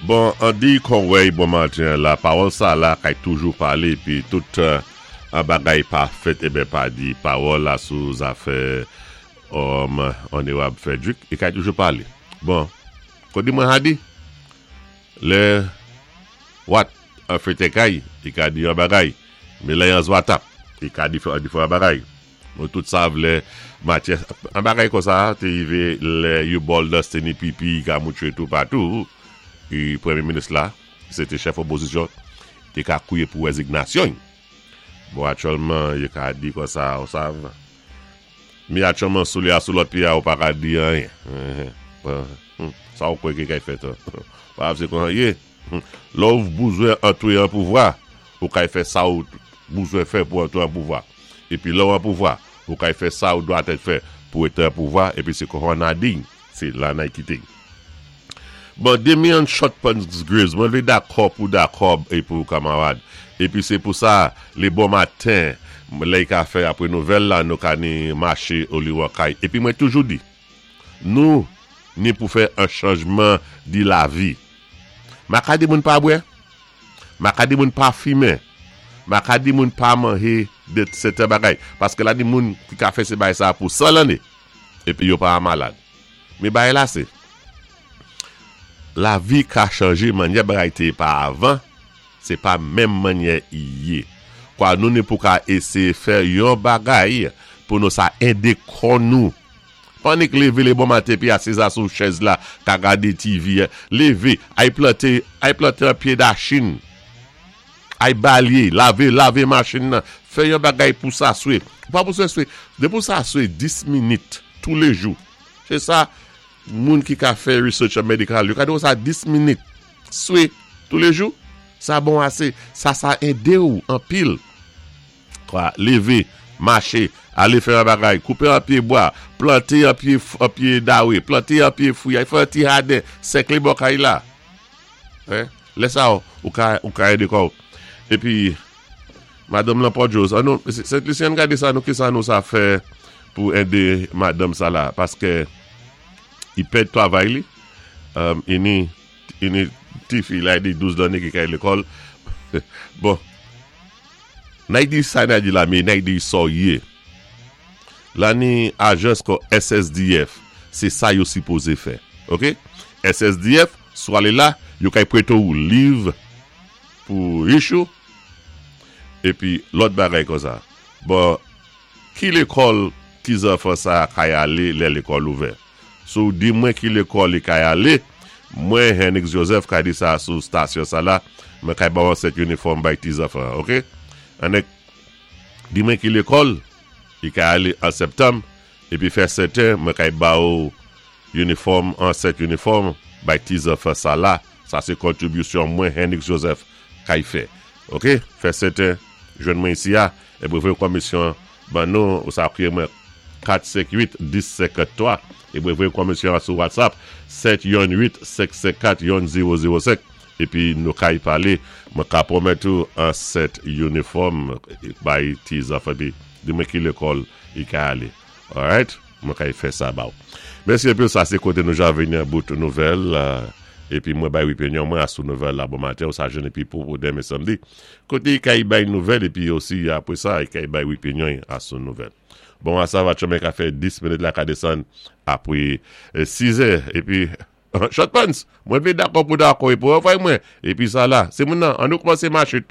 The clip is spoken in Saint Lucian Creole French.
Bon, an di kon wèy bon maten la, pawòl sa la kay toujou palé épi tout an bagay pa fèt ében pa di pawòl la sou zafè Onorab Frederick i kay toujou palé. Bon, kon di mwen ha di, lè wat an fete kay, i ka di an bagay, mé lè an zwatap, i ka di an bagay. Nou tout sav lè matyè an bagay konsa té rivé lè you bòl dans té ni pipi ka moutwé toupatou i premyé minis la ki sé té chèf opozisyon té ka kwiyé pou rèzignasyon-y. Bon aktyèlman yo ka di konsa ou sav mi aktyèlman sou li a sou lòt pyé a ou pa ka di anyen. Sa ou kwè ki kay fèt an? Pa se konsa yé. Lè ou bouzwen antwé an pouvwa, ou kay fè sa ou bouzwen fè pou antwé an pouvwa. Épi lè ou an pouvwa, ou kay fè sa ou dwatèt fè pou été an pouvwa, épi sé konsa na di, sé la nay kité. Bon, Demian Short Pants Graves, mwen vlé dakò pou dakò é pou kamarad. Épi sé pou sa, lé bon maten, lè y ka fè apwé nouvèl la, nou ka ni maché oli wan kay. Épi mwen toujou di, nou ni pou fè an chanjman di lavi. Ma ka di moun pa bwè, ma ka di moun pa fimen, ma ka di moun pa manje de sèten bagay. Paske la ni moun ki ka fè se bagay sa pou 100 lanne, epi yo pa malad. Men bagay la se, lavi ka chanje mannyè bagay te ye pa avan, se pa menm mannyè i ye. Kwa nou ni pou ka eseye fè yon bagay pou nou sa ede kò nou. Pannik leve le bon maten epi asiza sou chèz la ka gade TV leve ay plante ay plante yon pye dachin ay balye lave lave machin nan fè yon bagay pou sa swe ou pa bezwen swe depi ou sa swe 10 minit tou le jou se sa moun ki ka fè research an medikal yo ka di ou sa 10 minit swe tou le jou sa bon ase sa sa ede ou anpil. 3, Leve, mache, ale fè yon bagay, koupe yon pye bwa, plante yon pye yon pye dawe, plante yon pye fwi, al fè yon ti jaden, sèkle bò kay la. Hein? Lè sa a, ou ka ou ka ede kò ou. Epi, madanm lan Port Rose, an nou, Sent Lisi ann gade sa nou kisa nou sa fè pou ede madanm sa la paske li pèd travay li, ini ini ti fi la di 12 lanne ki kay lekòl. Bon. Nay di sa nay di la me nay di sa w ye la ni ajans kò SSDF se sa yo sipoze fè ok SSDF si w ale la yo kay prete w liv pou rich ou epi lòt bagay konsa bon ki lekòl ti zanfan sa kay ale lè lekòl ouvè. Si w di mwen ki lekòl li kay ale, mwen Henix Joseph kay di sa sou stasyon sa la, mwen kay ba w yon sèt inifòm bay ti zanfan an ok. Annik di mwen ki lekòl li kay ale an septanm epi fè sèten mwen kay ba w inifòm an sèt inifòm bay ti zanfan sa la, sa se kontribisyon mwen Henix Joseph kay fè ok. Fè sèten jwenn mwen isi a epi voye komisyon Ban nou ou sa kriye mwen 4 5 8 10 53 e mwen voye komisyon an sou whatsapp 7 yon 8 5 5 4 yon 0 0 5 epi nou kay pale mwen ka pwomèt ou an 7 uniform bay ti zanfan epi di mwen ki lekòl li ka ale alright mwen kay fè sa ba ou mèsi anpil sa se kote nou ja vini an bout nouvèl epi mwen bay opinyon mwen a sou nouvèl la bon maten ou sa jwenn epi pou demen samdi Kote kay bay nouvèl epi osi apre sa kay bay opinyon a sou nouvèl. Bon a sa va tchome ka fè 10 minit la ka desann apre 6 è epi Short pants! Mwen vle dakò pou dakò epi ou anvwaye mwen epi sa la se moun nan an nou kmanse mache to.